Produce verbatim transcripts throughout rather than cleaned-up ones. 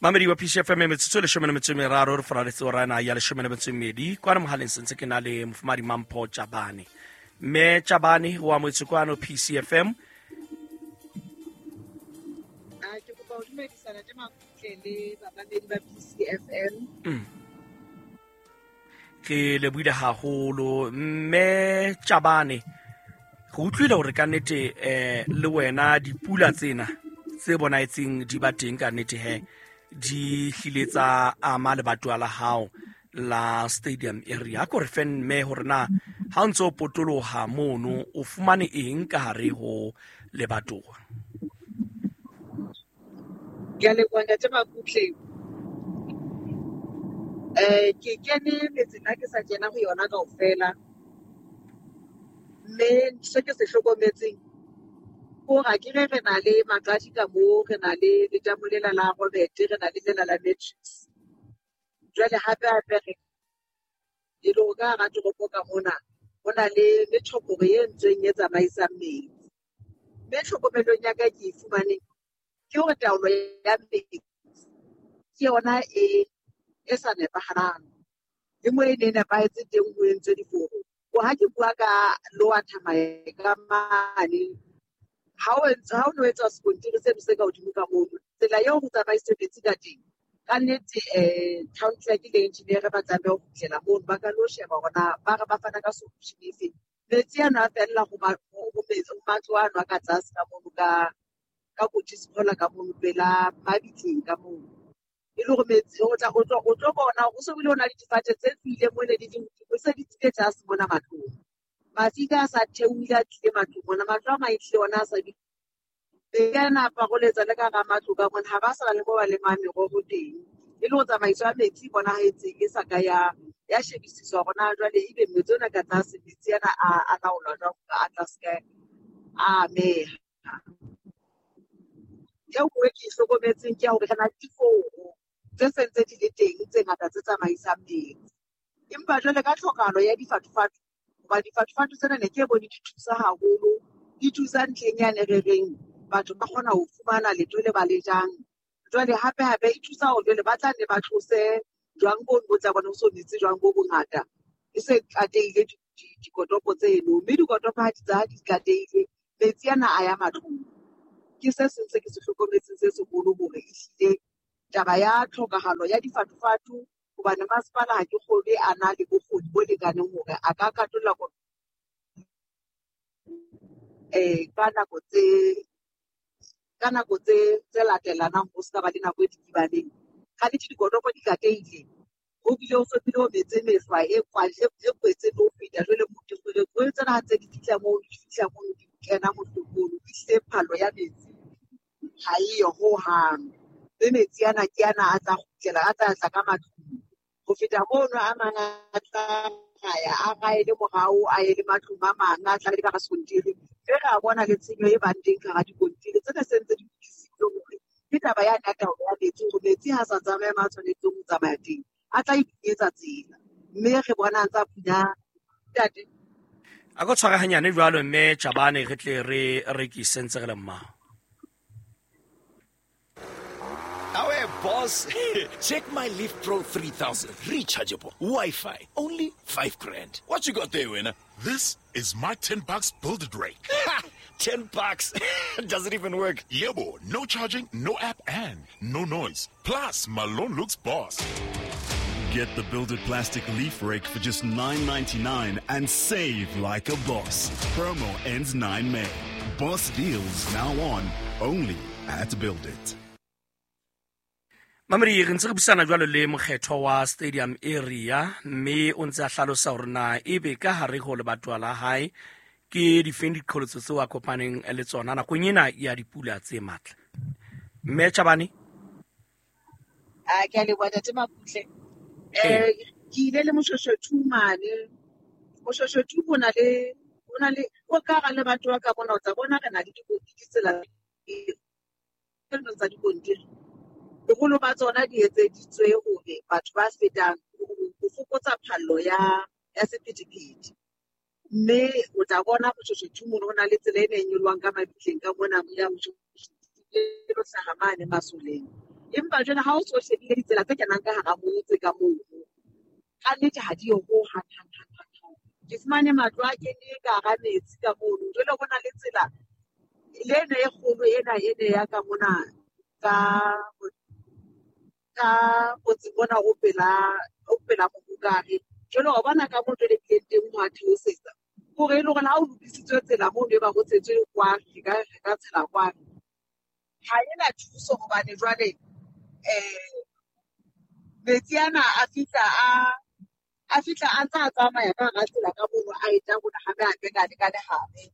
Mamedi wa P C F M metsotso e leshome le metso e meraro re faraletse ora ena ya leshome le metso e mmedi kwana mohaleng sentse ke na le mofumahadi Mampho Tjabane. Mme Tjabane wa amohetswe kwano P C F M. A ke kopa ho dumedisana le makutle le bamamedi ba P C F M. Mm. Ke lebohile haholo mme Tjabane. Re utlwile hore ka nnete eh le wena dipula tsena tse bonahetseng di ba teng ka nnete he di hlile tsa ama lebatowa la hao la stadium area. Ko re fe mme hore na ha o ntso o potoloha mono o fumane eng ka hare ho lebatowa? Ke a leboha ntate Makutle. Eh ke kene metseng ha ke sa kena ho yona kaofela. Mme se ke se hlokometseng hore ha ke re re na le maqadi ka moo, re na le letamo lela la Robert, re na le lela la Matrix. Jwale hape hape re e le hore ka hara toropo ka mona ho na le methoporo e entsweng e tsamaisang metsi. Mme tlhokomelong ya ka ke e fumaneng ke hore taolo ya metsi ke yona e, e sa nepahalang. Le moo e ne e nepahetse teng ho entswe diforo. Ho ha ke bua ka Lower Thamae ka mane, ha o entse, ha o no etswa sekontiri seno se ka hodimo ka mono, tsela eo ho tsamaiswe metsi ka teng, ka nnete, eh, town clerk le engineer ba tlameha ho kgutlela mono, ba ka lo sheba hore na ba re ba fana ka solution efe. Metsi ano a fella ho ma-, ho, ho metsi, ho matlo ano a ka tlase ka mono, ka, ka Kotisphola ka mono, pela mabitleng ka mono. E le hore metsi, o tla, o tlo, o tlo bona hore ho so bile ho na le difate tse tswileng mole di le hodimo, se di tswile tlase mona matlong. Mafika a sa theohile a tlile matlong mona, matlo a mang ehlile ona a sa di-, metsi ana a paroletsa le ka hara matlo ka mona, ha ba sa na le moo ba lemang meroho teng. E le ho tsamaiso ya metsi e bonahetseng e sa ka ya, ya shebisiswa hore na jwale ebe metsi ona ka tlase, metsi ana a, a laolwa jwang hore a tlase ka a ameha. E nngwe ke e hlokometseng ke ya hore re na le diforo tse se ntse di le teng tse ngata tse tsamaisang metsi. Empa jwale ka tlhokahalo ya difatufatu, hoba difatufatu tsena ne ke bone di thusa haholo, di thusa ntlheng yane re reng batho ba kgona ho fumana letho le ba le jang. Jwale hape hape e thusa hore jwale ba tla nne ba tlose jwang bono bo tla bona ho so metse jwang bo bongata. E se tlatehile di-, di-, dikotopo tseno, mme dikotopo ha di tsa di tlatehile, metsi ana a ya matlong. Ke se seng se ke se hlokometseng se seholo hore ehlile taba ya tlhokahalo ya difatufatu, hobane masepala ha ke kgolwe a na le bokgoni bo lekaneng hore a ka katolla ko-, eh, ka nako tse, ka nako tse, tse latelanang ho se ka ba le nako e dikibaneng. Ka nnete dikotopo di tlatehile, ho bile ho so bile ho metse mehlwa e kwa-, e, e kwetse le ho feta. Jwale motho o re, tsena ha ntse di fihla moo, di fihla mono, di kena mohlomong, ehlile phallo ya metsi ha eyo hohang. Mme metsi ana ke ana a tla kgutlela, a tla tla ka matlung. Ho feta mono a mang a tla raya, a raele morao, a ye le matlung a mang, a tla le ka hara sekontiri. Mme re a bona le tshenyo e bang teng ka hara dikontiri tsena se ntse di lokisitswe hore ke taba ya taolo ya metsi, hore metsi ha sa tsamaye ma tshwanetseng ho tsamaya teng, a tla iphunyetsa tsela. Mme re bona a ntsa phunya ntate. A ko tshware hanyane jwalo mme Tjabane, re tle re rekise ntse re le mmaho. Awe boss, check my Leaf Pro three thousand, rechargeable, Wi-Fi, only five grand. What you got there, winner? This is my ten bucks build it rake. ten bucks? Does it even work? Yebo, no charging, no app, and no noise. Plus, my loan looks boss. Get the Build It Plastic Leaf Rake for just nine ninety-nine and save like a boss. Promo ends nine May. Boss deals now on, only at Build It. Mamedi, re ntse re buisana jwalo le mokgetho wa stadium area, mme o ntse a hlalosa hore na ebe ka hare ho lebatowa la hae ke difeng diqholotso tseo a kopaneng le tsona nakong ena ya dipula tse matla. Mme Tjabane? A ke a leboha ntate Makutle. Ee. Eh, ke ile le Moshoeshoe mane. Moshoeshoe ho na le, ho na le, o ka hara lebatowa ka mona o tla bona re na le ditsela tsa dikontiri. Boholo ba tsona di etseditswe hore batho ba fetang ho fokotsa phallo ya, ya sephethephethe. Mme o tla bona Moshoeshoe mono ho na le tsela e ne e nyolohang ka mabitleng ka mona ya Moshoeshoe e lo hlaha mane masoleng. Empa jwale ha o so shebile ditsela tse kenang ka hara motse ka mono, ka nnete ha di yo ho hang hang hang hang. Ke fumane matlo a kene ka hara metsi ka mono. Jwale ho na le tsela le ena e kgolo ena ene ya ka mona ka ka motseng mona o pela o pela Mohokare. Jwale wa bona ka moo jwale bileng teng ho a theosetsa. Hore e le hore ha o lokisitswe tsela mono e ba ho tshetswe kwano, re ka re ka tshela kwano. Ha ena thuso hobane jwale eh metsi ana a fihla a a fihla a ntse a tsamaya ka hara tsela ka mono a etla rona hape hape ka le ka lehare.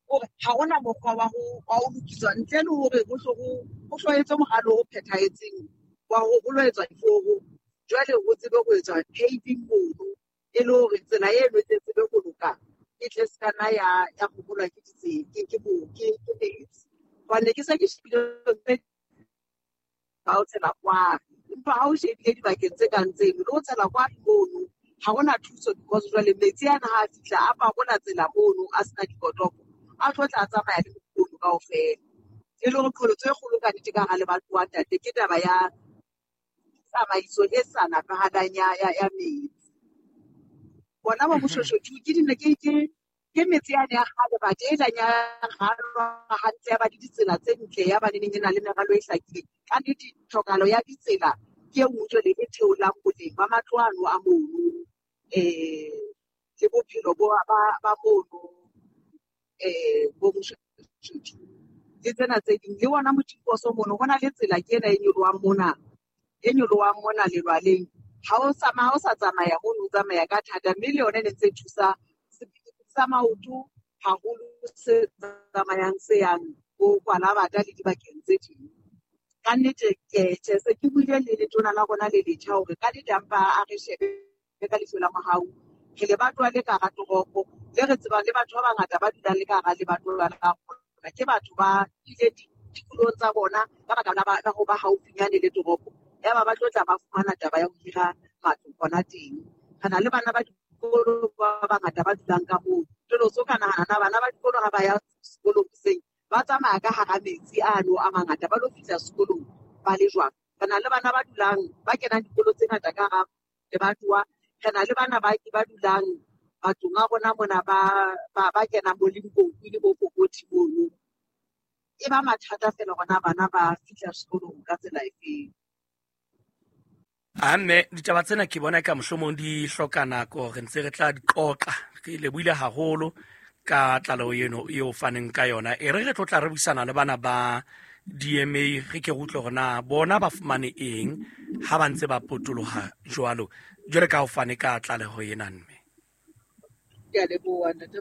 Hore ha hona mokgwa wa ho wa ho lokiswa ntle le hore ho hlo ho ho hlo etswe moralo o phethahetseng wa ho ho lo etswa diforo. Jwale ho tsebe ho etswa paving mono e le hore tsela eno e tle tsebe ho loka, e tle se kana ya ya kgokolwa ke ditse ke ke ke ke metsi. Hobane ke se ke shebile tse ba ho tshela kwano, empa ha o shebile dibakeng tse kang tseno le ho tshela kwano mono ha hona thuso because jwale metsi ana ha a fihla a parola tsela mono a sena dikotopo, a tlo tla tsamaya le mokono kaofela. E le hore qholotso e kgolo ka nnete ka hara lebatowa ntate ke taba ya tsamaiso e sa nepahalang ya ya ya metsi. Bona bo Moshoeshoe two ke dine ke ke ke metse yane ya kgale batho e leng ya ralwa hantle ya ba le ditsela tse ntle ya ba neneng e na le meralo e hlakileng. Ka nnete tlhokahalo ya ditsela ke e nngwe jwale e theolang boleng ba matlo ano a mono eh le bophelo bo ba ba mono eh bo Moshoeshoe two le tsena tse ding. Le ona Motiposo mono ho na le tsela ke ena e nyolohang mona e nyolohang mona lelwaleng. Ha o sa ha o sa tsamaya mono o tsamaya ka thata, mme le yona e ne ntse e thusa sephethephethe sa maoto haholo se tsamayang se yang bo Kwalabata le dibakeng tse ding. Ka nnete ke tjhe se ke buile le letona la rona le letjha hore ka nnete a mpa a re shebe ka leihlo la mohau. Re lebatowa le ka hara toropo le re tsebang le batho ba bangata ba dulang le ka hara lebatowa la rona. Ke batho ba ile dikolong tsa bona ka baka la ba ho ba haufinyane le toropo. Yaba ba tlo tla ba fumana taba ya ho hira matlo hona teng. Re na le bana ba dikolo ba bangata ba dulang ka moo. Jwale o so ka nahana na bana ba dikolo ha ba ya sekolong hoseng ba tsamaya ka hara metsi ano a mangata ba lo fihla sekolong ba le jwang. Re na le bana ba dulang ba kenang dikolo tse ngata ka hara lebatowa. Re na le bana ba ba dulang matlong a rona mona ba ba ba kenang bo Limpopo le bo Kokothi mono. E ba mathata feela hore na bana ba fihla sekolong ka tsela efeng. A mme ditaba tsena ke bona ka mohlomong di hloka nako, re ntse re tla di qoqa. Re lebohile haholo ka tlaleho eno eo faneng ka yona. E re re tlo tla re buisana le bana ba D M A re ke re utlwe hore na bona ba fumane eng ha ba ntse ba potoloha jwalo. Jwale ka ho fane ka tlaleho ena mme. Ke a leboha ntate.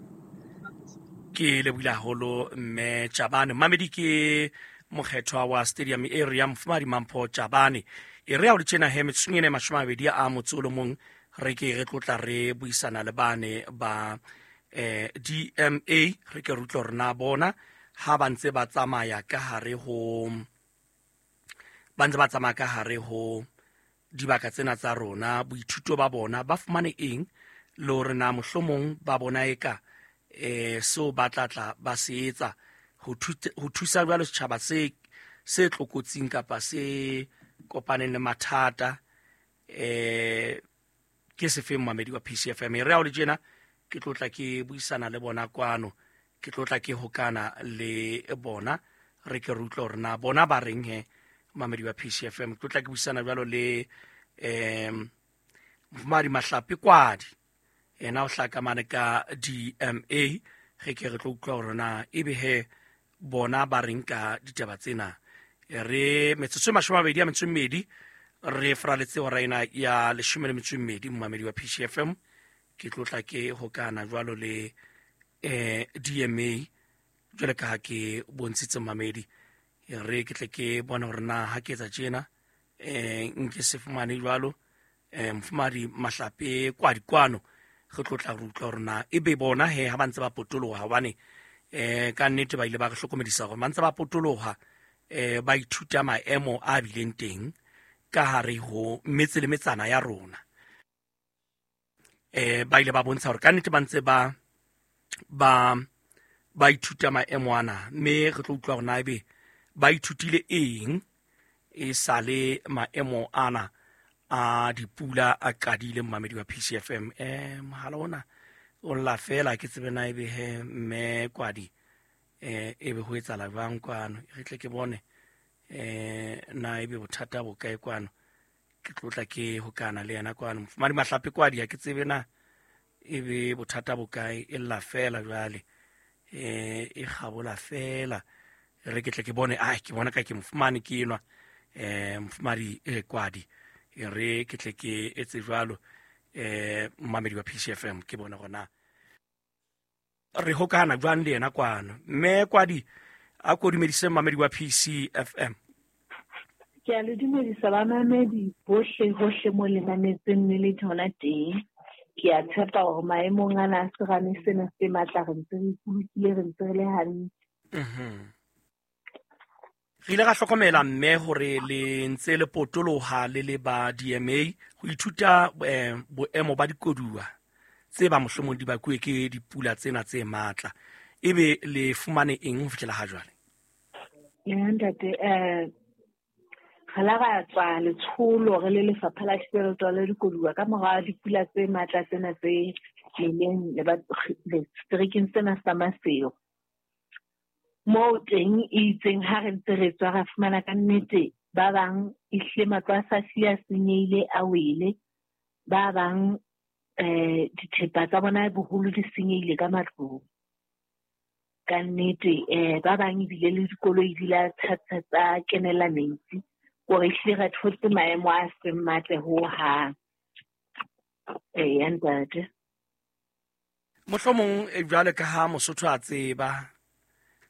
Ke lebohile haholo mme Chabane. Mamedi ke mokgethwa wa Stadium Area Mofumahadi Mampho Chabane. E re ha o le tjena he metsotsong ena e mashome a mabedi a motso o le mong re ke re tlotla re buisana le bane ba eh D M A re ke re utlwe hore na bona ha ba ntse ba tsamaya ka hare ho ba ntse ba tsamaya ka hare ho dibaka tsena tsa rona boithuto ba bona ba fumane eng le hore na mohlomong ba bona eka eh seo ba tla tla ba se etsa ho ho thusa jwalo setjhaba se se tlokotsing kapa se kopaneng le mathata eh ke sefeng mamedi wa P C F M. Re ha o le tjena ke tlotla ke buisana le bona kwano, ke tlotla ke hokana le bona re ke re utlwe hore na bona ba reng he mamedi wa P C F M. Ke tlotla ke buisana jwalo le em Mofumahadi Mahlape Kwadi, yena o hlaka mane ka D M A. Re ke re tlo utlwa hore na ebe he bona ba reng ka ditaba tsena. Re metsotso e mashome a mabedi a metso e mmedi re fraletse hora ena ya leshome le metso e mmedi momamedi wa P C F M. Ke tlotla ke hokana jwalo le eh D M A jwale ka ha ke bontshitse mamedi. Re ke tle ke bone hore na ha ke etsa tjena eh nke se fumane jwalo eh Mofumahadi Mahlape Kwadi kwano re tlotla re utlwa hore na ebe bona he ha ba ntse ba potoloha hobane eh ka nnete ba ile ba re hlokomedisa hore ba ntse ba potoloha eh ba ithuta maemo a bileng teng ka hare ho metse le metsana ya rona. Eh ba ile ba bontsha hore ka nnete ba ntse ba ba ba ithuta maemo ana, mme re tlo utlwa hore na ebe ba ithutile eng E sale maemo ana a dipula a qadile mmamedi wa P C F M. Eh mohala ona o lla fela ke tsebe na ebe he mme Kwadi eh ebe ho etsahala jwang kwano, re tle ke bone eh na ebe bothata bo kae kwano, ke tlotla ke hokana le yena kwano. Mofumahadi Mahlape Kwadi ha ke tsebe na ebe bothata bo kae, e lla fela jwale eh e kgabola fela, re ke tle ke bone. Ai ke bona ka ke mofumane ke enwa eh mofumahadi eh, Kwadi, e re ke tle ke etse jwalo eh mmamedi wa P C F M ke bona gona re hokana jwang le yena kwano. Mme Kwadi a ko dumedise mmamedi wa P C F M. Ke a le dumedisa bamamedi bohle hohle mo le mametseng le le hona teng. Ke a tshepa hore maemong ana a serame sena se matla re ntse re ipolokile, re ntse re le hantle. Mhm. Re ile ra hlokomela mme hore le ntse le potoloha le le ba D M A ho ithuta eh, boemo ba dikoduwa tse ba mohlomong di bakuwe ke dipula tsena tse matla. Ebe le fumane eng ho fihlela ha jwale? Ya ntate, eh re la ra tswa letsholo re le lefapha la thibelo taolo ya dikoduwa ka mora dipula tse matla tsena tse neleng seterekeng sena sa Maseru. Moo teng e itseng ha re ntse re tswa ra fumana ka nnete ba bang ehlile matlo a sa hlile a senyehile a wele, ba bang eh dithepa tsa bona boholo di senyehile ka matlong ka nnete, eh ba bang ebile le dikoloi di la tsa tsa kenela metsi, hore ehlile re thotse maemo a seng matle hohang. Eh ntate, mohlomong jwale ka ha Mosotho a tseba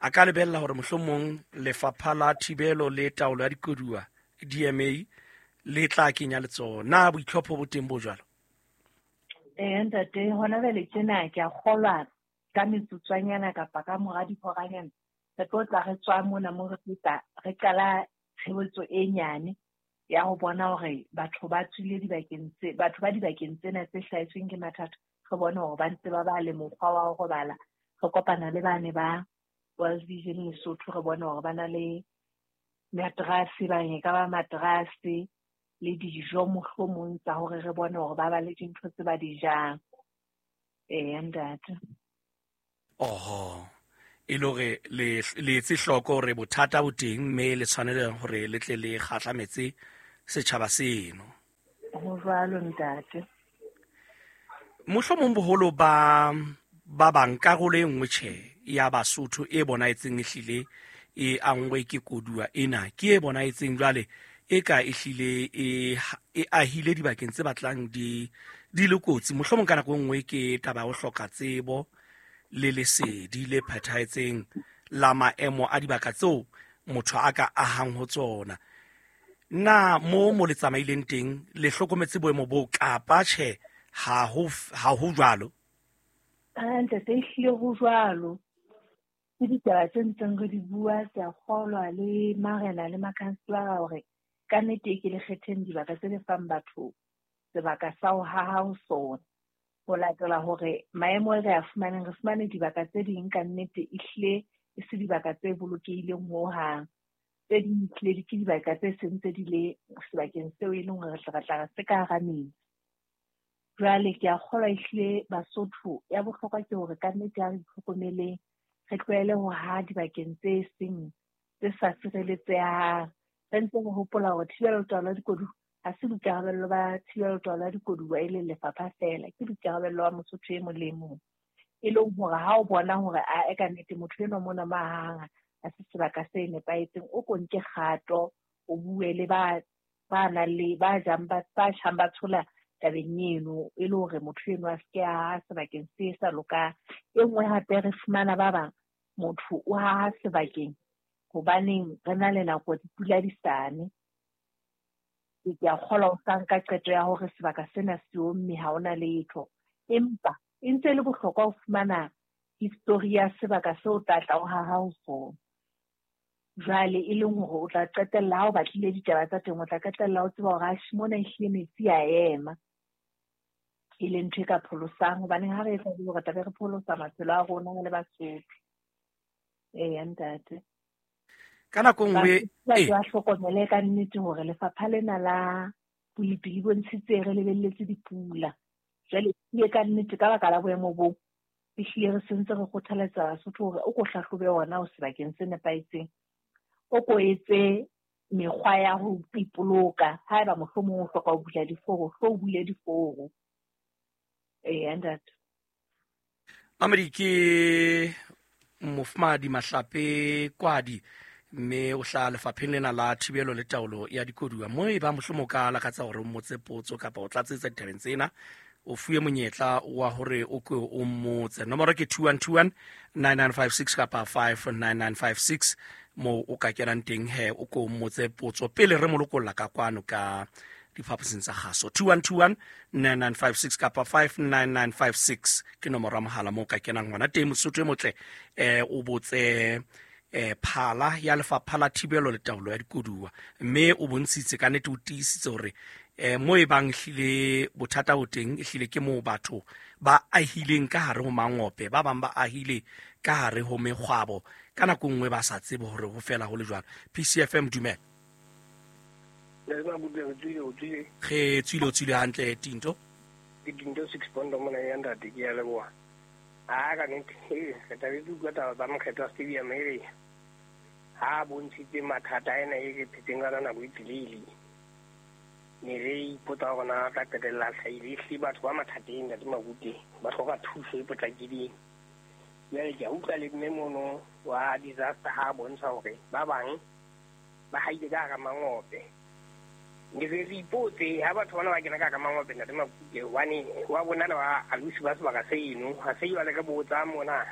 a ka lebella hore mohlomong lefapha la thibelo le taolo ya dikoduwa D M A le tla kenya letsoho, na boitlhopho bo teng bo jwalo? Eh ntate, hona jwale tjena ke a kgolwa ka metsotswanyana kapa ka mora dihoranyana re tlo tla re tswa mona mo re feta re qala tshebetso e nyane ya ho bona hore batho ba tswile dibakeng tse batho ba dibakeng tsena tse hlahetsweng ke mathata, re bone hore ba ntse ba ba le mokgwa wa ho robala. Re kopana le bane ba World Vision Lesotho, re bone hore ba na le materase, ba e ka ba materase le dijo mohlomong tsa hore re bone hore ba ba le dintho tse ba di jang. Eh ntate. Oho, e le hore le le etse hloko hore bothata bo teng mme le tshwanela hore le tle le kgahlametse setjhaba seno. Ho jwalo ntate. Mohlomong boholo ba ba bang karolo e nngwe tjhe ya Basotho e bonahetseng ehlile e angwe ke koduwa ena ke e bonahetseng jwale e ka ehlile e e ahile dibakeng tse batlang di di le kotsi. Mohlomong ka nako e nngwe ke taba ya ho hloka tsebo le lesedi le phethahetseng la maemo a dibaka tseo motho a ka ahang ho tsona. Na mo mo le tsamaileng teng le hlokometse boemo bo kapa tjhe ha ho ha ho jwalo? Ah ntate, ehlile ho jwalo. Ke ditaba tse ntseng re di bua, ke a kgolwa le marena le makhanselara hore ka nnete ke le kgetheng dibaka tse le fang batho sebaka sa ho haha ho sona. Ho latela hore maemo e re a fumaneng, re fumane dibaka tse ding ka nnete ehlile e se dibaka tse bolokehileng hohang. Tse ding ehlile ke dibaka tse seng tse di le sebakeng seo e leng hore re tla re se ka hara metsi. Jwale ke a kgolwa ehlile Basotho ya bohlokwa ke hore ka nnete ha re itlhokomeleng, re tlohele ho haha dibakeng tse seng tse sa sireletsehang. Re ntse re hopola hore thibelo taolo ya dikoduwa ha se boikarabello ba thibelo taolo ya dikoduwa e leng lefapha feela, ke boikarabello ba Mosotho e mong le e mong. E leng hore ha o bona hore a e ka nnete motho enwa mona mo ahang ha se sebaka se nepahetseng, o ko nke kgato, o bue le ba ba nang le ba jang ba ba tjhang ba tshola tabeng eno, e le hore motho enwa a se ke a haha sebakeng se sa lokang. E nngwe hape re fumana ba bang motho o haha sebakeng hobaneng re na le nako dipula di sane. Ke a kgolwa o sa nka qeto ya hore sebaka sena se omme ha hona letho, empa e ntse e le bohlokwa ho fumana history ya sebaka seo o tla tla o haha ho sona. Jwale e leng hore o tla qetella ha o batlile ditaba tsa teng, o tla qetella o tseba hore atjhe mona ehlile metsi a ema, e leng ntho e ka pholosang. Hobaneng ha re etsa jwalo re tla be re pholosa maphelo a rona re le Basotho. Eya ntate. Ka nako nngwe e ba hlokomele ka nnete hore lefapha lena la bolepi le bontshitse re lebelletse dipula. Jwale ke ka nnete ka baka la boemo bo ehlile re sentse re kgothaletsa Basotho hore o ko hlahlobe ona o sebakeng se nepahetseng, o ko etse mekgwa ya ho ipoloka. Haeba mohlomong o hloka ho bula diforo, hlo o bule diforo. Ee, ntate. Mamedi ke Mofumahadi Mahlape Kwadi, mme o hlaha lefapheng lena la thibelo le taolo ya dikoduwa. Mo e ba mohlomong ka lakatsa hore o mmotse potso kapa o tlatsetsa ditabeng tsena, o fuwe monyetla wa hore o ke o mmotse. Nomoro ke two one two one nine nine five six kapa five nine nine five six, moo o ka kenang teng he o ko mmotse potso pele re mo lokolla ka kwano ka diphaposing tsa kgaso. two one two one nine nine five six kapa five nine nine five six ke nomoro ya mohala moo o ka kenang hona teng. Mosotho e motle eh o botse eh phala ya lefapha la thibelo le taolo ya dikoduwa, mme o bontshitse ka nnete, o tiisitse hore eh mo e bang hlile bothata bo teng, ehlile ke moo batho ba ahileng ka hare ho mangope, ba bang ba ahile ka hare ho mekgwabo, ka nako nngwe ba sa tsebe hore ho fela ho le jwalo. P C F M, dumela. Re tswile, o tswile hantle Tinto. Ke Tinto six point mona ya ntate, ke ya leboha. A ka nnete, re thabetse utlwa taba tsa Mokgethwa Stadium e re ha bontshitse mathata ena e re phetseng ka nako e telele. Ne re ipotsa hore na tla qetella hlahile, ehlile batho ba mathateng ntate Makute ba hloka thuso e potlakileng. Jwale ke a utlwa le mme mono wa disaster ha bontsha hore ba bang ba haile ka hara mangope. Ne re re ipotse ha batho bana ba kena ka hara mangope ntate Makute, hobane wa bona le ba alusi ba sebaka seno, ha se jwale re botsa mona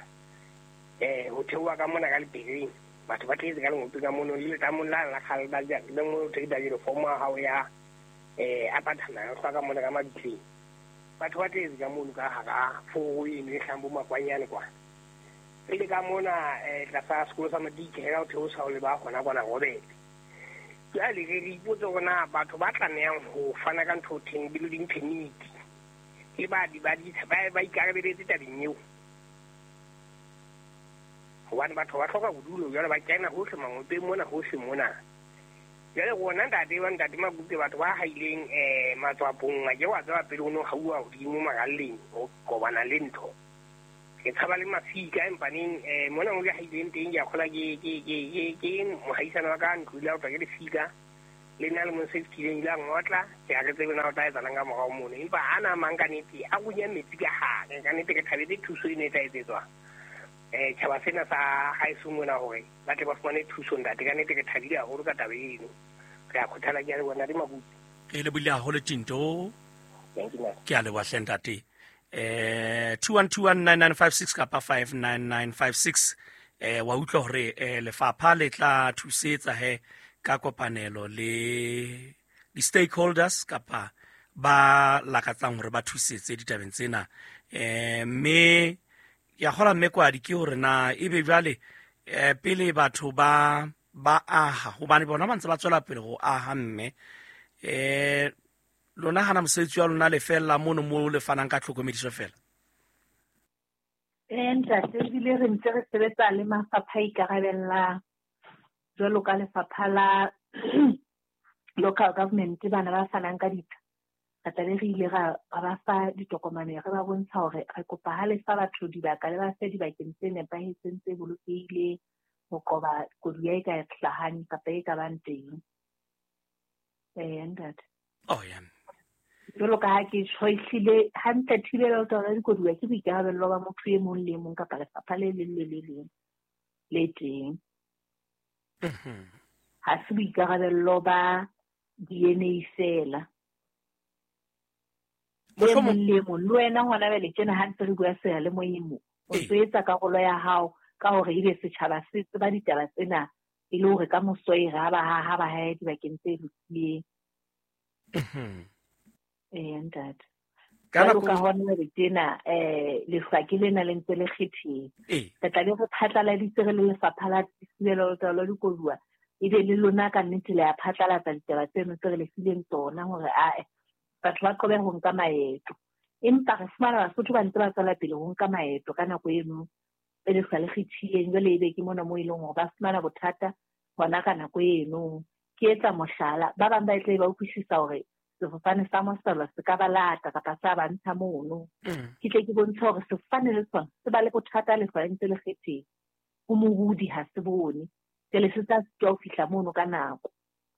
eh ho theoha ka mona ka lepereng, batho ba tletse ka lengope ka mono le letamong la la kgale ba ja le mo thekita le form ya hao ya eh apartment o ka mona ka mabitleng. Batho ba tletse ka mono ka hara foro eno e hlang bo makwanyane kwa. Re le ka mona eh tlasa sekolo sa Madike ha o theosa o le ba hona kwana Robert. Jwale re re ipotse hore na batho ba tlamehang ho fana ka ntho theng building permit le ba di ba di ba ba ikarabeletse tabeng eo. Hobane batho ba hloka bodulo jwale ba kena hohle mangopeng mona hohle mona. Jwale rona ntate wa ntate Makute, batho ba haileng eh matswapong a ke wa tseba pele o no hauwa hodimo maralleng o kobana le ntho. Ke tshaba le mafika empaneng eh mona mo ke haileng teng ke a kgola ke ke ke ke ke mohaisana wa ka ntlo ile a utlwa ke lefika le nna le mo safety ile a ngotla, ke a re tsebe na o tla etsalang ka morao mono, empa ana mang ka nnete a runya metsi ka hare. Ka nnete ke thabetse thuso eno e tla etsetswa eh tjhaba sena sa haeso mona hore ba tle ba fumane thuso ntate. Ka nnete ke thabile haholo ka taba eno, re a kgothala ke a leboha ntate Makute. Re lebohile haholo Tinto. Thank you. Ke a leboha hle ntate. Eh two one two one nine nine five six kapa five nine nine five six. Eh wa utlwa hore eh lefapha le tla thusetsa he ka kopanelo le di stakeholders kapa ba lakatsang hore ba thusetse ditabeng tsena. Eh mme ya kgola mme Kwadi ke hore na ebe jwale eh pele batho ba ba aha, hobane bona ba ntse ba tswela pele ho aha, mme eh lona hana mosebetsi wa lona le fella mono mo le fanang ka tlhokomediso fela? Eh ntate, ebile re ntse re sebetsa le mafapha a ikarabellang jwalo ka lefapha la local government, bana ba fanang ka ditsha. Re tlabe re ile ra ba fa ditokomane, re ba bontsha hore re kopa ha le fa batho dibaka le ba fe dibakeng tse nepahetseng tse bolokehileng ho qoba koduwa e ka hlahang kapa e ka bang teng. Eh ntate. Oh yeah. Jwalo ka ha ke tjho, ehlile hantle thibelo ya dikoduwa ke boikarabello ba motho e mong le e mong kapa lefapha le leng le le leng le teng. Ha se boikarabello ba D N A fela. E mong le mong, le wena hona jwale tjena ha ntse re bua seyalemoyeng mo, o ntso etsa karolo ya hao ka hore ebe setjhaba se tseba ditaba tsena e le hore ka moso e re ha ba ha ba hae dibakeng tse lokileng. Eh ntate. Ka Jwalo ka hona jwale tjena eh lehlwa ke lena le ntse le kgethile. Re tla be re phatlaladitse re le lefapha la thibelo le taolo ya dikoduwa, ebe le lona ka nnete le a phatlalatsa ditaba tseno tse re le fileng tsona hore ae batho ba qobe ho nka maeto. Empa re fumana Basotho ba ntse ba tswela pele ho nka maeto ka nako eno e lehlwa le kgethileng. Jwale ebe ke mona moo e leng hore ba fumana bothata Hona ka nako eno ke etsa mohlala, ba bang ba tle ba utlwisisa hore sefofane sa mosolo se ka ba lata kapa sa ba ntsha mono. Ke tle ke bontshe hore sefofane le sona se ba le bothata le fa ntse le kgetheng. Ho mohudi ha se bone. Jwale se tla sitwa ho fihla mono ka nako.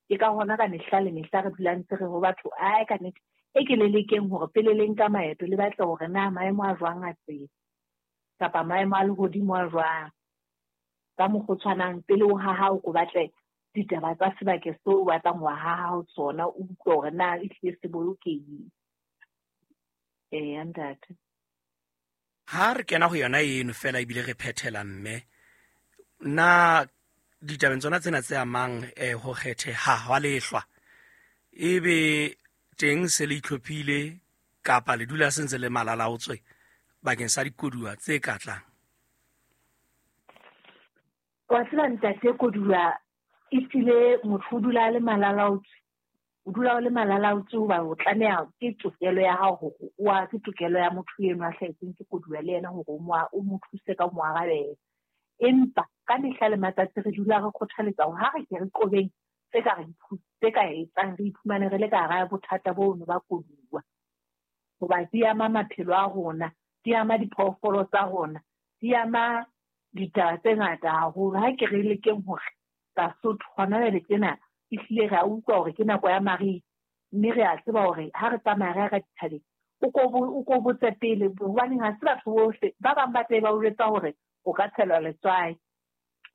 Ke ka hona ka mehla le mehla re dula ntse re ho batho ai ka nnete e ke le lekeng hore pele le nka maeto le batle hore na maemo a jwang a tsela kapa maemo a lehodimo a jwang. Ka mokgwa o tshwanang pele o haha o ko batle ditaba tsa sebakeng seo o batlang ho haha ho sona, o utlwe hore na ehlile se bolokehile. Eya ntate. Ha re kena ho yona eno fela ebile re phethela mme, na ditabeng tsona tsena tse amang eh, ho kgetheha hwa lehlwa, ebe teng se le itlhophile kapa le dula se ntse le malalaotswe bakeng sa dikoduwa tse ka tlang? Wa tseba ntate, koduwa ehlile motho o dula a le malalaotswe. O dula o le malalaotswe hoba o tlameha ke tokelo ya hao hore o a ke tokelo ya motho eno a hlahetsweng ke koduwa le yena hore o mo o mo thuse ka ho mo arabela. Empa ka mehla le matsatsi re dula re kgothaletsa hore ha re ke re qobeng tse ka re tse ka etsang re iphumane re le ka hara bothata bono ba koduwa. Hoba di ama maphelo a rona, di ama diphoofolo tsa rona, di ama ditaba tse ngata haholo. Ha ke re lekeng hore Basotho hona jwale tjena ehlile re a utlwa hore ke nako ya mariha, mme re a tseba hore ha re tsamaya re ya ka dithabeng o ko o ko botse pele, hobaneng ha se batho bohle. Ba bang ba tle ba o jwetsa hore o ka tshelwa letswai.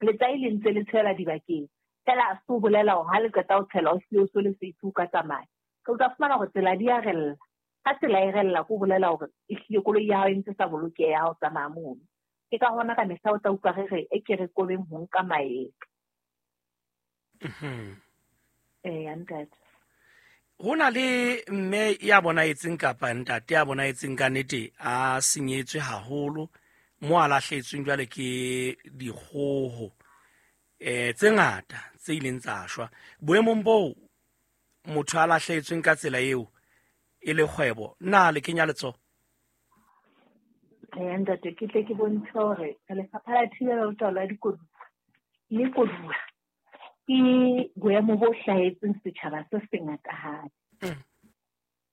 Letswai le ntse le tshela dibakeng fela, ha se o bolela hore ha le qeta ho tshela o hlile o so le safe o ka tsamaya. O tla fumana hore tsela di a rella. Ha tsela e rella ko bolela hore ehlile koloi ya hao e ntse sa bolokeha ha o tsamaya mono. Ke ka hona ka mehla o tla utlwa re re e ke re kobeng ho nka maeto. Mhm. Eya ntate. Ho na le mme ya bonahetseng kapa ntate ya bonahetseng ka nnete a senyetswe haholo mo a lahletsweng jwale ke dikgoho eh tse ngata tse ileng tsa shwa. Boemong boo motho a lahletsweng ka tsela eo e le kgwebo, na le kenya letsoho? Eya ntate, ke tle ke bontshe hore lefapha la thibelo le taolo ya dikoduwa le koduwa ke boemo bo hlahetseng setjhaba se sengatahadi,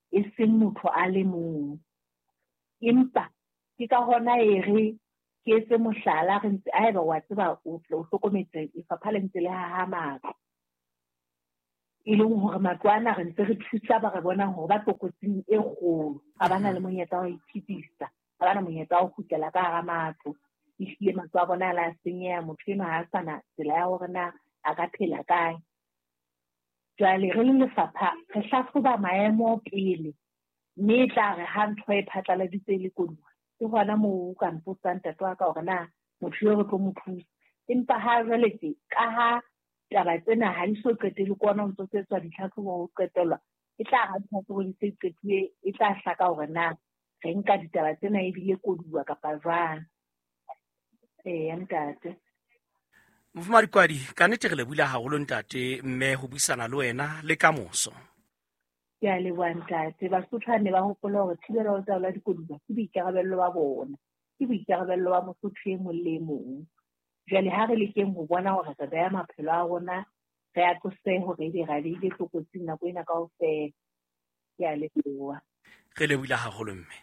e seng motho a le mong. Empa ke ka hona e re ke etse mohlala, re ntse haeba wa tseba o tle o hlokometse lefapha le ntse le haha matlo, e leng hore matlo ana re ntse re thusa ba re bonang hore ba tlokotsing e kgolo, ha ba na le monyetla wa ho iphedisa, ha ba na monyetla wa ho kgutlela ka hara matlo. Ehlile matlo a bona a la senyeha, motho enwa ha a sa na tsela ya hore na a ka phela kae. Jwale re le lefapha re hlahloba maemo pele, mme e tla re ha ntho e phatlaladitse e le koduwa, ke hona moo o ka mpotsang ntate wa ka hore na motho eo re tlo mo thusa. Empa ha jwale tje, ka ha taba tsena ha di so qetele ke ona ho ntso etswa ditlhahlobo ho qetellwa, e tla ha ditlhahlobo di se qetuwe, e tla hlaka hore na re nka ditaba tsena ebile koduwa kapa jwang. Eya ntate. Mofumahadi Kwadi, ka nnete re lebohile haholo ntate mme ho buisana le wena le kamoso. Ke a leboha ntate. Basotho ba ne ba hopola hore thibelo le taolo ya dikoduwa ke boikarabello ba bona, ke boikarabello ba Mosotho e mong le e mong. Jwale ha re lekeng ho bona hore re beha maphelo a rona, re a tlose hore ebe ra beile tlokotsing nako ena kaofela. Ke a leboha. Re lebohile haholo mme.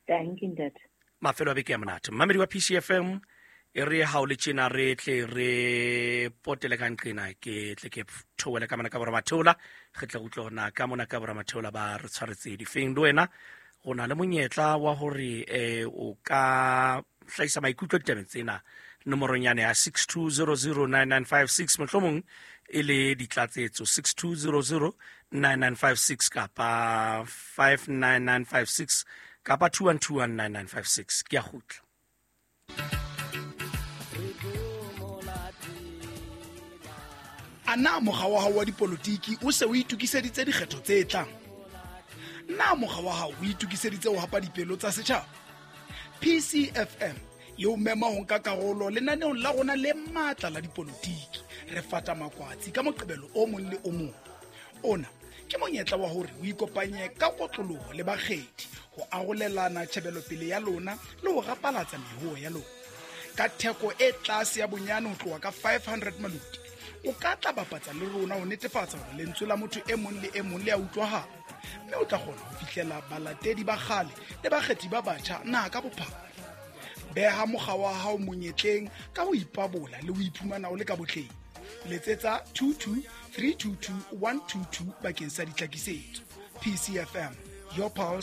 Thank you ntate. Mafelo a beke ya monate. Mmamedi wa P C F M, e re ha o le tjena re tle re potele ka nqena, ke tle ke theohele ka mona ka boramatheola, re tle re utlwe hore na ka mona ka boramatheola ba re tshwaretse difeng. Le wena o na le monyetla wa hore eh o ka hlahisa maikutlo ditabeng tsena nomorong yane ya six two zero zero nine nine five six, mohlomong e le ditlatsetso six two zero zero nine nine five six kapa five nine nine five six kapa two one two one nine nine five six. Ke a kgutla. A na mokga wa hao wa dipolotiki o se o itokiseditse dikgetho tse tlang? Na mokga wa hao o itokiseditse ho hapa dipelo tsa setjhaba? P C F M e o mema ho nka karolo lenaneong la rona le matla la dipolotiki. Re fata makwatsi ka Moqebelo o mong le o mong. Ona ke monyetla wa hore o ikopanye ka kotloloho le bakgethi ho arolelana tjhebelopele ya lona le ho rapalatsa mehoo ya lona. Ka theko e tlase ya bonyane ho tloha ka five hundred maluti, O ka tla bapatsa le rona ho netefatsa hore lentswe la motho e mong le e mong le a utlwahala, mme o tla kgona ho fihlela balatedi ba kgale le bakgethi ba batjha naha ka bophara. Beha mokga wa hao monyetleng ka ho ipabola le ho iphumana o le ka botleng. Letsetsa two two three two two one two two bakeng sa ditlhakisetso. P C F M, your pulse.